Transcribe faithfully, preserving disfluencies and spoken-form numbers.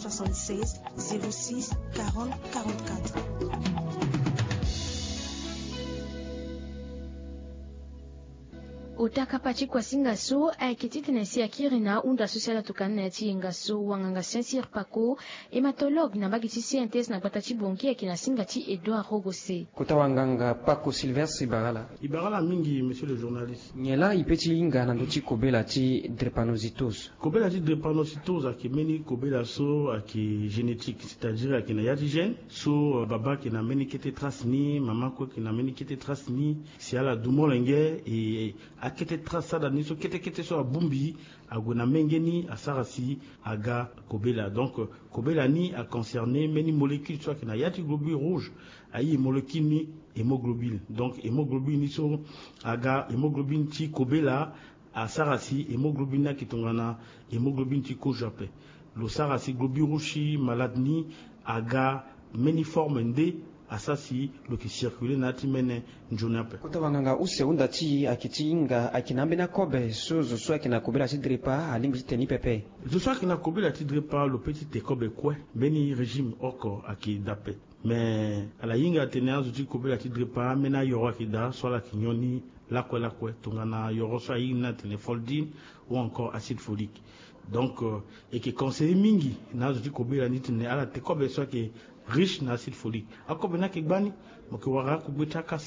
soixante-seize, zéro six, quarante, quarante-quatre. Ota kapa ti kuasinga so ayeke titene si akiri na ahunda so si ala tokani na ya ti yenga so wanganga Saint-Cyr Paco, hématologue na mbage ti C N T S na gbata ti Bangui, ayeke na singa ti Edouard Rogose. Kota wanganga Paco Sylvestre, e bara ala. E bara ala mingi, monsieur le journaliste. Nyen laa e pe ti hinga na ndö ti kobela ti drépanocytose? Kobela ti drépanocytose ayeke mbeni kobela so ayeke génétique, c'est-à-dire ayeke na ya ti gène so, euh, babâ ayeke na mbeni kete trace ni, mama kue ayeke na mbeni kete trace ni. Si ala du molenge, e akete trace so ala ni so kete kete so abongbi ague na menge ni, asara si aga kobela. Donc, euh, kobela ni aconcerné mbeni molécule so ayeke na ya ti globule rouge, aye molécule ni hémoglobine. Donc hémoglobine ni so aga hémoglobine ti kobela, asara si hémoglobine ni ayeke tongana hémoglobine ti kozo ape. Lo sara si globule rouge ti malade ni aga mbeni forme nde asara si lo yeke circuler na ya ti mene nzoni ape. Kota wanganga use, hunda ti e ayeke ti hinga ayeke na ambeni akobe so zo so ayeke na kobela ti drepa alingbi ti tene ni pepe? Zo so ayeke na kobela ti drepa lo pe ti te kobe kue, mbeni régime oko ayeke daa ape. Me ala hinga atene azo ti kobela ti drepa, ambeni ayoro ayeke daa so ala yeke nyon ni lakue lakue, tongana yoro so ahinga ni atene foldine ou encore acide folique. Donc, euh, e yeke conseiller mingi na azo ti kobela ni titene ala te kobe so ayeke riche na acide folique. Akobe ni ayeke gbani, mo yeke wara akugbe ti akasa.